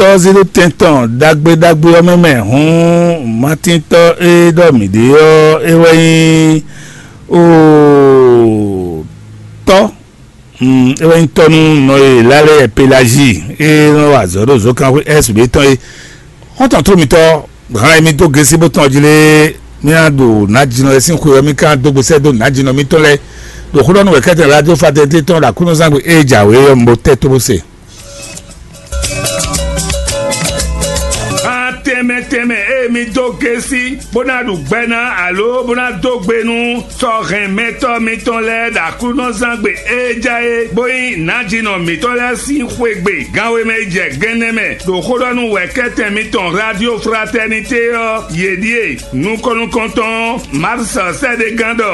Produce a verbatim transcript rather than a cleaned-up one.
tɔ́ zíɖútɛn tɔn ɖagbe ɖagbe ɔ́ mɛ mɛ hǔn, Matíntɔ́ e ɖɔ mǐ ɖe ɔ́, é wɛ nyí otɔ́, é wɛ nyí tɔ́ nú nɔ e Lálɛ Pelazi e nɔ wa azɔ̌ ɖo zǒkanxwé S B tɔn é. Xɔ́ntɔn tó mitɔ́, hǎn e mi dó gesi bó tɔn jí lé, mía ɖo nǎjínɔ e sín xwe ɔ́, mí ka dó gbe sɛ́ dó nǎjínɔ mitɔn lɛ́ɛ ɖo xó ɖɔ nú wɛ̌kɛ́tɛn radio fraternité tɔn ɖo Aklúnɔzángbe e jǎwe ɔ́, mi bo tɛ́ tó bó se. Gan tɛnmɛ tɛnmɛ e mi dó gesi bó ná ɖu gbɛ ná alo bó ná dó gbe nú sɔ́ hɛn mɛtɔ́ mitɔn lɛ́ɛ ɖo Aklúnɔzángbe e ja é, bó nyí nǎjínɔ mǐtɔn lɛ́ɛ sín xwegbe ganwe mɛ yi jɛ gɛnnɛ mɛ ɖo xó ɖɔ nú wɛ̌kɛ́tɛn mitɔn Radio Fraternité ɔ́, yě ɖíe: nukɔn nukɔntɔn Mars sɛ́ɖégán ɖɔ